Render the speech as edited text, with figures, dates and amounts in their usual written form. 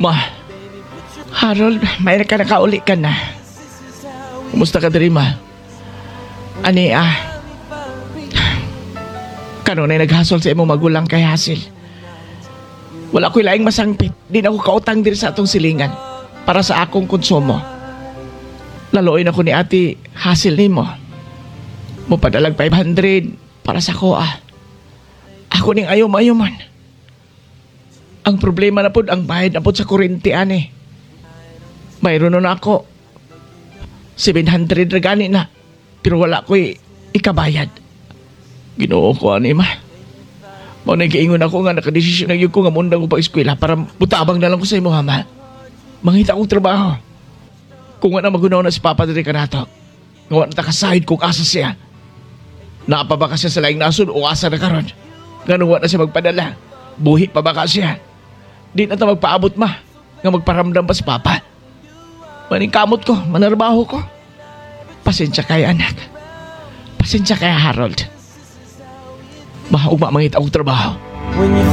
Ma, Harold, may ka nakauli ka na. Kumusta ka diri, ma? Ani ah. Kanunay naghasol sa imong magulang kay Hasil. Wala ko'y laing masangpit. Di na ako kautang diri sa atong silingan para sa akong konsumo. Laluoy ako ni Ate Hasil nimo. Mupadalag 500 para sa ko ah. Ako ning ayaw maayo man. Ang problema na pod ang bayad na pod sa kuryente ani. Mayroon na ako. 700 ra gani na. Pero wala ko'y ikabayad. Ginoo ko ani, ma. Mao na giingon ako nga nakadesisyon na gyud ko nga mundang ko pag-eskwela para mutabang na lang ko sa imo ha, ma. Mangita akong trabaho. Kung wala magunaw na si Papa diri kanato. Nga wa na ta kasayod kung asa siya. Naa pa ba ka siya sa laing nasod o asa na karon? Ngano wa na siya magpadala? Buhi pa ba ka siya? Di na ta magpaabot, ma, nga magparamdam pa si Papa. Maningkamot ko, manarbaho ko. Pasensya kay anak. Pasensya kay Harold. Ma, ugma mangita akong trabaho. When you